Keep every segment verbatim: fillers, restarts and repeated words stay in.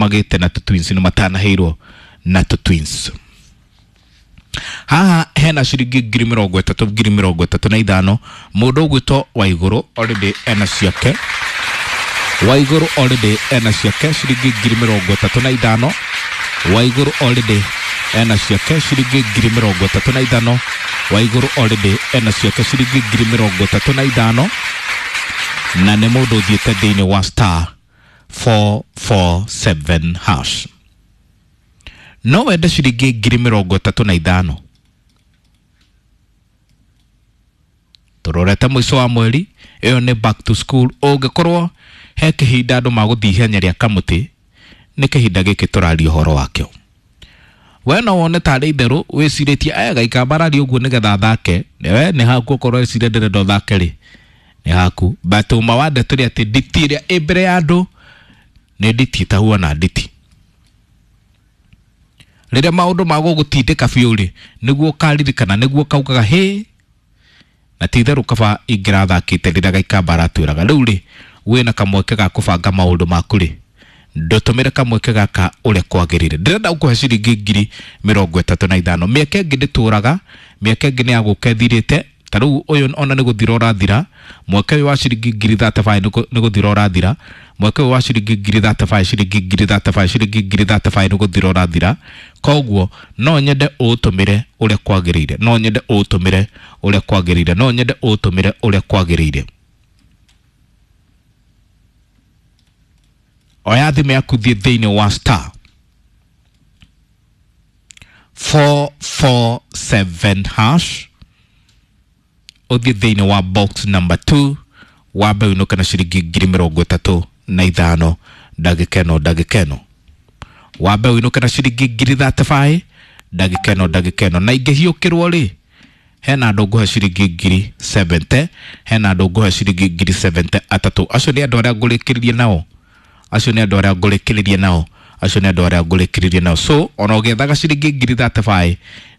magĩte na twins nĩ matanaheirwo na twins. Haha hena ciringi ngiri mĩrongo ĩtatũ ngiri mĩrongo ĩtatũ na ithano. Mũndũ ũgwĩtwo Waigũrũ already ena ciake. Waigũrũ already ena ciake ciringi ngiri mĩrongo ĩtatũ na ithano. Waigũrũ already ena ciake ciringi ngiri mĩrongo ĩtatũ na ithano. Waigũrũ already ena ciake ciringi ngiri mĩrongo ĩtatũ na ithano, na nĩ mũndũ ũthiĩte thĩinĩ wa star four four seven hash. No wende ciringi ngiri mĩrongo ĩtatũ na ithano. Tũrorete mũico wa mweri, ĩyo nĩ back to school. Ũngĩkorwo he kĩhinda andũ magũthiĩ ihenya rĩa kamũtĩ, nĩ kĩhinda gĩkĩ tũraria ũhoro wakĩo. We no wone tarĩ itherũ wĩcirĩtie aya Gĩikamba araria ũguo nĩgetha athake. We nĩ haku okorwo wĩcirie ndĩrenda ũthake rĩ, nĩ haku. But ũma wa ndeto nĩ atĩ nditi ĩrĩa ĩ mbere ya andũ nĩ nditi ĩtahuana nditi. Rĩrĩa maũndũ magũgũtindĩka biũ rĩ, nĩguo ũkaririkana, nĩguo ũkaugaga hĩ, na ti itherũ kaba ingĩrathakĩte rĩrĩa Gĩikamba aratwĩraga. Rĩu rĩ, wĩna kamweke ga kũbanga maũndũ maku rĩ, ndũtũmĩre kamweke gaka ũrĩa kwagĩrĩire. Ndĩrenda gũkũhe ciringi ngiri mĩrongo ĩtatũ na ithano. Mĩaka ĩngĩ ndĩtũraga, mĩaka ĩngĩ nĩ ya gũka ĩthirĩte. Ta rĩu ũyũ ona nĩ gũthira ũrathira. Mweke ũyũ wa ciringi ngiri thirty five nĩ gũthira ũrathira. Mweke ũyũ wa ciringi ngiri thirty five, ciringi ngiri thirty five, ciringi ngiri thirty five nĩ gũthira ũrathira. Koguo no nyende ũũtũmĩre ũrĩa kwagĩrĩire, no nyende ũũtũmĩre ũrĩa kwagĩrĩire, no nyende ũũtũmĩre ũrĩa kwagĩrĩire. Oya thimũ yaku thiĩ thĩinĩ wa star four four seven hash, ũthiĩ thĩinĩ wa box number two, wambe ũinũke na ciringi ngiri mĩrongo ĩtatũ na ithano ndagĩka ĩno ndagĩka ĩno. Wambe ũinũke na ciringi ngiri thirty five ndagĩka ĩno ndagĩka ĩno. Na ingĩhiũkĩrwo rĩ, hena andũ ngũhe ciringi ngiri seventy, hena andũ ngũhe ciringi ngiri seventy atatũ. Acio nĩ andũ arĩa ngũrĩkĩrĩria nao, acio nĩ andũ arĩa ngũrĩkĩrĩria nao, acio nĩ andũ arĩa ngũrĩkĩrĩria nao. So ona ũgĩethaga ciringi ngiri thirty five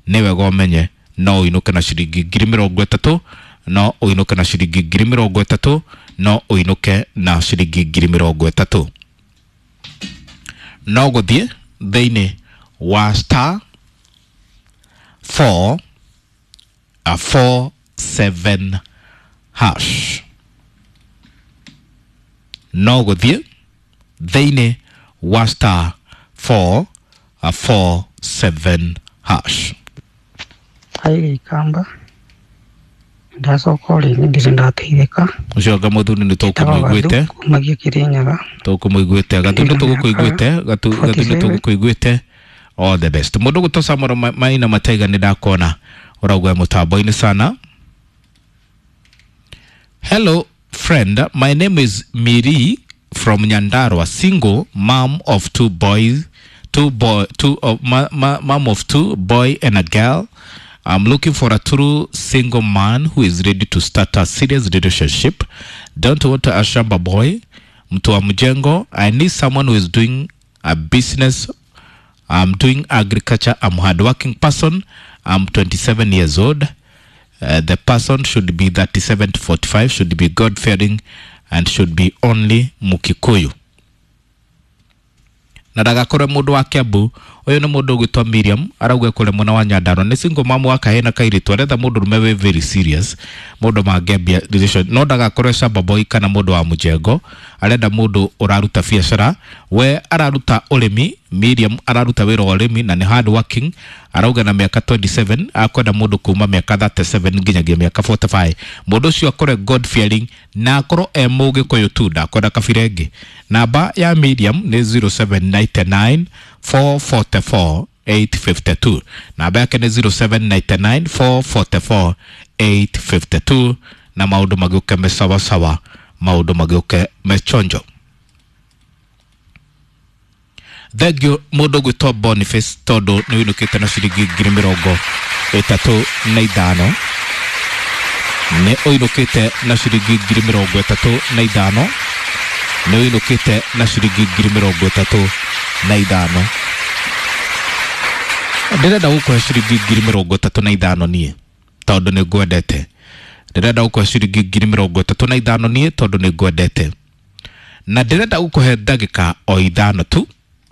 nĩ wega ũmenye no ũinũke na ciringi ngiri mĩrongo ĩtatũ, no ũinũke na ciringi ngiri mĩrongo ĩtatũ, no ũinũke na ciringi ngiri mĩrongo ĩtatũ. No gũthiĩ thĩinĩ wa star four a four seven hash. No gũthiĩ thĩinĩ wa star four a four seven hash. Hi Gĩikamba, ndacoka o rĩngĩ ndirĩ ndateithĩka. Ũcio anga mũthuri nĩ tũkũmũiguĩte. Kumagia Kĩrĩnyaga. Tũkũmũiguĩte. Gatu nĩ tũgũkũiguĩte. Gatu, gatu nĩ tũgũkũiguĩte. All the best. Mũndũ ũgwĩtwo Samuel Maina Mataiga nĩ ndakona ũrauga mũtambo-inĩ sana. Hello friend, my name is Miri from Nyandarua, single mom of two boys, two boy, two of ma, ma, mom of two boy and a girl. I'm looking for a true single man who is ready to start a serious relationship. Don't want a shamba boy, mtu wa mjengo. I need someone who is doing a business. I'm doing agriculture. I'm a hardworking person. I'm twenty-seven years old. Uh, the person should be thirty-seven to forty-five, should be God-fearing, and should be only Mukikuyu. Na ndagakorwo mũndũ wa Kiambu. Ũyũ nĩ mũndũ ũgwĩtwo Miriam, arauga kũrĩ mwena wa Nyandarua. Nĩ single mom wa kahĩĩ na kairĩtu, aretha mũndũ ũrũme wĩ very serious, mũndũ mangĩambia relation. No ndagakorwo shamba boy kana mũndũ wa mũjengo, arenda mũndũ ũraruta biacara. We araruta ũrĩmi, Miriam araruta wĩra wa ũrĩmi na nĩ hard working. Arauga na mĩaka twenty-seven, akwenda mũndũ kuma mĩaka thirty-seven nginyagia mĩaka forty-five. Mũndũ ũcio akorwo God fearing na akorwo e Mũgĩkũyũ tu, ndakwenda kabira ĩngĩ. Namba ya Miriam nĩ zero seven nine nine four four four eight five two. Namba yake nĩ zero seven nine nine four four four eight five two. Na maũndũ magĩũke me sawa sawa, maũndũ magĩũke me chonjo. Thank you mũndũ ũgwĩtwo Boniface tondũ nĩ ũinũkĩte na ciringi ngiri mĩrongo ĩtatũ na ithano. Nĩ ũinũkĩte na ciringi ngiri mĩrongo ĩtatũ na ithano. Nĩ ũinũkĩte na ciringi ngiri mĩrongo ĩtatũ na ithano. Ndĩrenda gũkũhe ciringi ngiri mĩrongo ĩtatũ na ithano niĩ tondũ nĩ ngwendete. Ndĩrenda gũkũhe ciringi ngiri mĩrongo ĩtatũ na ithano niĩ tondũ nĩ ngwendete. Na ndĩrenda gũkũhe ndagĩka o ithano tu.